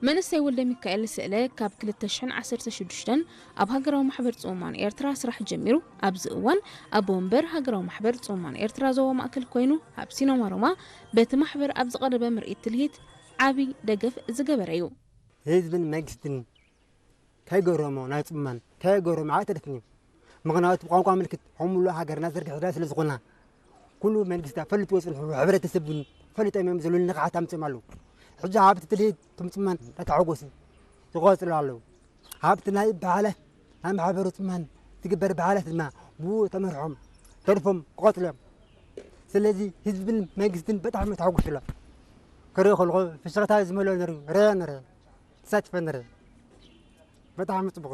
መንእሰይ ወልደ ሚካኤል ስእለ ካብ ክልተ ሽሕን ዓሰርተ ሽዱሽተን ኣብ ሃገራዊ ማሕበር ጽሙማን ኤርትራ ስራሕ ጀሚሩ። ኣብዚ እዋን ኣቦ ወንበር ሃገራዊ ማሕበር ጽሙማን ኤርትራ ዞባ ማእከል ኮይኑ፣ ኣብ ሲኖማ ሮማ በቲ ማሕበር ኣብ ዝቐረበ ምርኢት ትልሂት ዓቢ ደገፍ ዝገበረ እዩ። ህዝብን መንግስትን ከይገረሞ ናይ ጽሙማን ከይገረሞ ኣይተደፍን እዩ። ምኽንያቱ ብቋንቋ ምልክት ከም ሙሉእ ሃገርና ዘርጊሕና ስለ ዝኾና፣ ኩሉ መንግስታ ፈሊጥዎ ጽንሑ፣ ሕብረተሰብ እውን ፈሊጦም እዮም ዘለዉ፣ ንቕሓት ኣምጺኦም ኣለዉ። ሕጂ ሃብቲ ትልሂት እቶም ጽሙማን እናተሓጎሱ ይቐጽሉ ኣለዉ። ሃብቲ ናይ በዓላት ናይ ማሕበሩ ጽሙማን ትግበር በዓላት ድማ ብኡ ተመርሖም ተርፎም ክቐጽሉ እዮም። ስለዚ ህዝብን መንግስትን በጣዕሚ ተሓጒሱ ኣሎ። ክርኢ ከለኹ ፍሽኽታ ዝመልኦ ነይሩ፣ ርያ ነይረ፣ ተሳቲፈ ነይረ። በጣዕሚ ጽቡቕ።